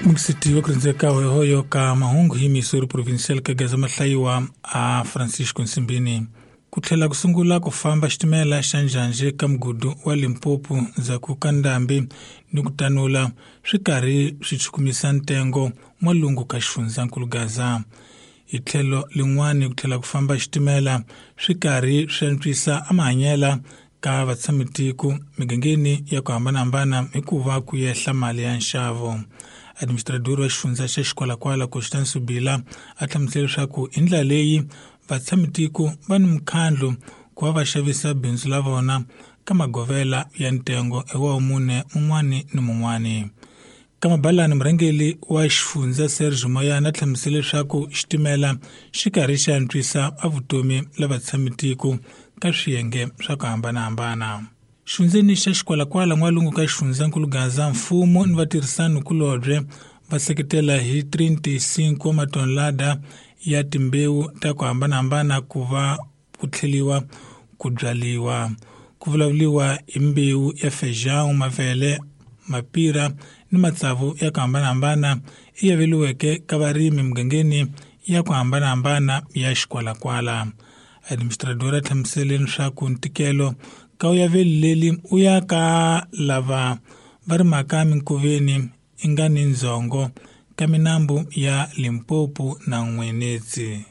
Mungiseti wa ku rindzeka hoyohoyo ka mahungu hi Missouri Provincial ka Gaza mahlayiwa a Francisco Nsimbini. Ku tlhela ku sungula ku famba xitimela xa njhanje ka mugudu wa Limpopo ndzhaku ka ndhambi ni ku tanula swi karhi swi chukumisa ntengo n'walungu ka xifundzankulu Gaza. Hi tlhelo lin'wani ku tlhela ku famba xitimela swi karhi swi antswisa amahanyela ka vatshamitiko migangeni ya ku hambanahambana hikuva ku yehla mali ya nxavo. Administrador wa xifundza xa Xikwalakwala Constance Bila a hlamusela leswaku hi ndlela leyi vatshamitiko va ni mukhandlu ku va va xavisa bindzu la vona ka magovela ya ntengo hi wa mune mun'wani ni mun'wani. Ka mabalani murhangeri wa xifundza Sergio Moyana a hlamusela leswaku xitimela xi karhi xi antswisa a vutomi la vatshamitiko ka swiyenge swa ku hambanahambana. Xifundzeni xa Xikwalakwala n'walungu ka xifundzankulu Gaza mfumo ni vatirhisani kulobye va seketela hi 35 wa matonelada ya timbewu ta ku hambanahambana ku va ku tlheliwa ku byaliwa. Ku vulavuriwa hi mbewu ya feijão, mavele, mapira ni matsavu ya ku hambanahambana i yaveliweke ka varimi mugangeni ya ku hambanahambana ya Xikwalakwala. Administrador a hlamusele leswaku ntikelo ka u yaveli leli u ya ka lava va rimaka minkoveni i nga ni ndzhongo ka minambu ya Limpopo na N'wenetsi.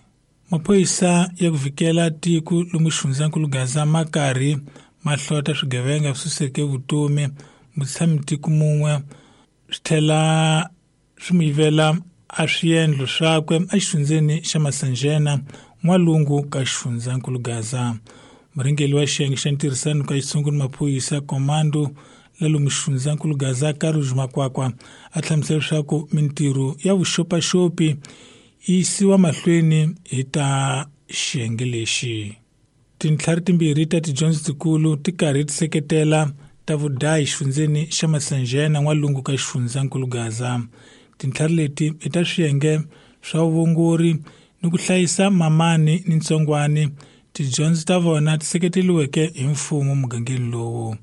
Maphorisa ya ku vhikela tiko lomu xifundzankulu Gaza ma karhi ma hlota swigevenga swi suseke vutomi mutshamitiko mun'we swi tlhela swi n'wi yivela a swiendlo swakwe exifundzeni xa Masanjena n'walungu ka xifundzankulu Gaza. Murhangeri wa xiyenge xa ntirhisano ka xitshungu ni maphorisa komando la lomu xifundzankulu Gaza Karuj Makwakwa a hlamusela leswaku mintirho ya vuxopaxopi yi yisiwa mahlweni hi ta xiyenge lexi. Tintlhari timbirhi ta tidyondzo tikulu ti karhi ti seketela ta vudayi xifundzeni xa Masanjena n'walungu ka xifundzankulu Gaza. Tintlhari leti i ta swiyenge swa vuongori ni ku hlayisa mamani ni ntsongwani. Tidyondzo ta vona ti seketeriweke hi mfumo mugangeni lowu.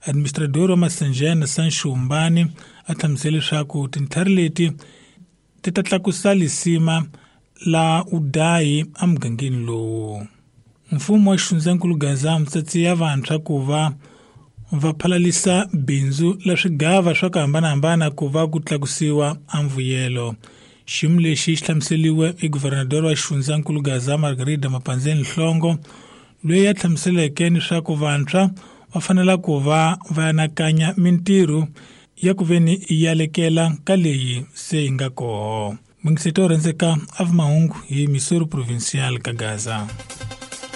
Administrador wa Masanjena Sancho Mbani a hlamusela leswaku tintlhari leti ti ta tlakusa lisima la udayi emugangeni lowu. Mfumo wa xifundzankulu Gaza mitsatsi ya vantshwa ku va va phalalisa bindzu la swigava swa ku hambanahambana ku va ku tlakusiwa a mvuyelo. Xiyimo lexi xi hlamuseliwe hi guvernador wa xifundzankulu Gaza Margarida Mapanzeni Nhlongo loyi a hlamuseleke leswaku vantshwa va fanela ku va va anakanya mintirho ya ku veni yi alekela ka leyi se yi nga koho. Mungiseto wo rhendzeka a vi mahungu hi Missouri Provincial ka Gaza.